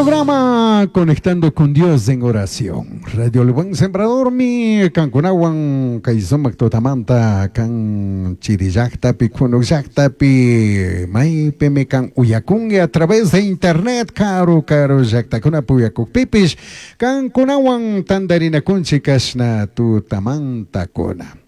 Programa Conectando con Dios en Oración. Radio El Buen Sembrador mi kankunawan kay sumak tutamanta kan chiri llaktapi kunuk llaktapi maypimi kan uyakunki a través de internet karu karu llaktakunapi uyakukpipish kankunawan tantarinakunchik kashna tutamantakuna.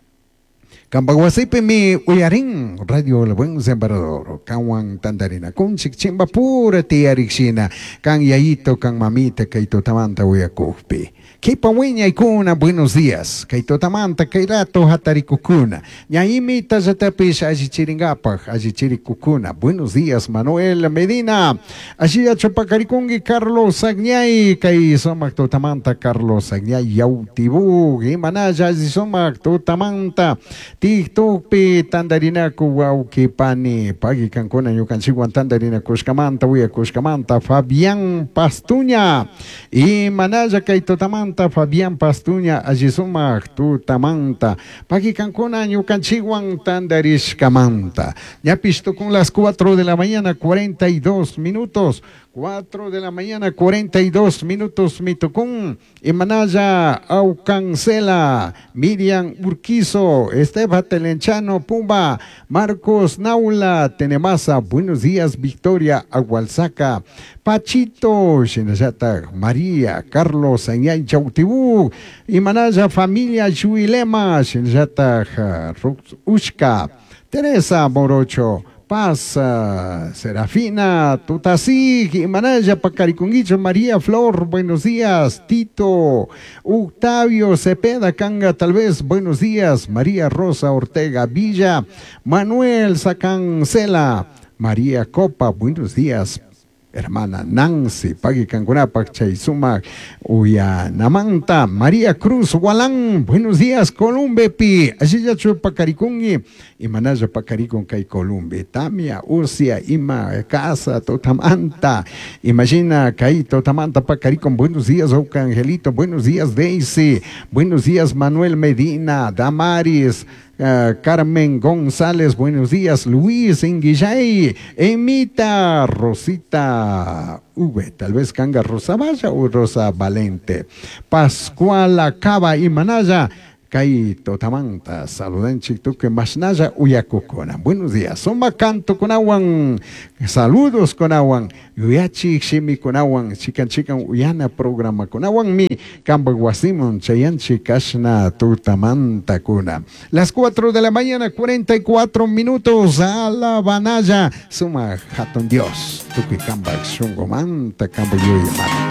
Kampak wasipimi uyarin Radio El Buen Sembrador kanwan tantarinakunchik chimpapura tiyarikshina kan yayito kan mamita kay tutamanta uyakukpi. Kipa wiñaykuna buenos días kay tutamanta kay rato hatarikukuna ñaimita llatapish allichirinkapak allichirikukuna buenos días Manuel Medina ashillachu pakarikunki Carlos Agñay kay sumak tutamanta Carlos Agñay Yautibú imanalla alli sumak tutamanta TikTokpi tantarinaku wawki pani paki kankuna ñukanchikwan tantarinakushkamanta uyakushkamanta Fabián Pastuña imanalla kay tutamanta Fabián Pastuña alli sumak tutamanta paki kankuna ñukanchikwan tantarishkamanta ñapish tukun las 4 de la mañana 42 minutos 4 de la mañana 42 minutos mitukun imanalla Aucancela Miriam Urquizo Esteban Telenchano Pumba Marcos Naula Tenemasa buenos días Victoria Agualzaca Pachito Shinallata María Carlos Añay Chautibú Imanalla familia Chuilema Shinallata Ushka Teresa Morocho Paz, Serafina, Tutasig, Imanaya, Pacariconguicho, María Flor, buenos días, Tito, Octavio Cepeda, Canga, tal vez, buenos días, María Rosa Ortega Villa, Manuel Sacancela, María Copa, buenos días, hermana Nancy, Pagui Cancunapac, Chaysuma, Uyanamanta, María Cruz Walán, buenos días, Columbe Pi, Ashillachu Pacaricungui, Imanaya Pacaricun Kay Columbe, Tamia, Urcia, Ima, Casa, Totamanta, Imagina, Kay Totamanta, Pacaricun, buenos días, Oca Angelito, buenos días, Daisy, buenos días, Manuel Medina, Damaris, Carmen González, buenos días, Luis Inguillay, Emita, Rosita V, tal vez Canga Rosa Valla o Rosa Valente, Pascual Acaba y Manaya, Kay Totamanta, saludanchik tukuy mashnalla uyakukuna. Buenos días, suma canto kunawan, saludos kunawan, yuyachik shimi kunawan, chikan chikan uyana programa kunawan mi, kampak wasimun chayanchik kashna tutamanta kuna. Las 4 de la mañana, 44 minutos, alabanaya, suma hatun Dios, tukuy kampak shunqumanta, kampak yuyamanta.